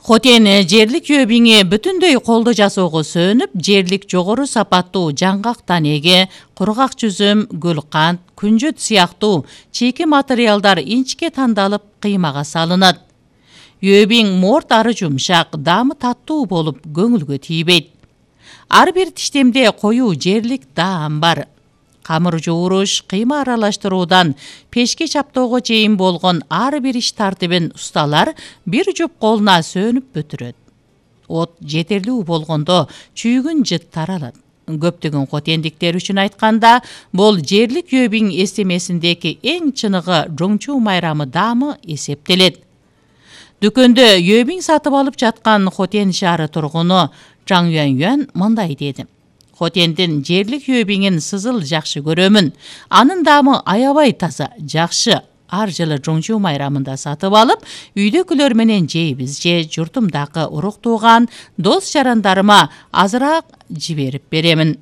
Хотен жерлик өбиңе бүтүндөй колдо жасоого сөнүп, жерлик жогору сапаттуу жаңгак танеге, кургак жүзүм, гүлкант, күнжөт сыяктуу чийки материалдар инчке тандалып кыймага салынат. Өбиң морт ары жумшак, даамы таттуу болуп көңүлгө тийбейт. Ар бир тиштемде коюу жерлик даам бар. Камыр жууруш, кыйма аралаштыруудан пешке чаптоого чейин болгон ар бир иш тартибин усталар бир жуп колуна сөнүп бүтүрөт. От жетерлүү болгондо чүйгүн жыт таралат. Көптөгөн хотендиктер үчүн айтканда, бул жерлик өбиң эстемесиндеги эң чыныгы жоңчуу майрамы даамы эсептелет. Дүкөндө өбиң сатып алып жаткан Хотен шаары тургуну Чаң Юан мындай деди: Хотендин жерлик өбиңин сызыл жакшы көрөмүн. Анын даамы аябай таза, жакшы. Ар жылы жоңчуу майрамында сатып алып, үйдөкүлөр менен жейбиз же журтумдагы урук тууган, дос жарандарыма азыраак жиберип беремин.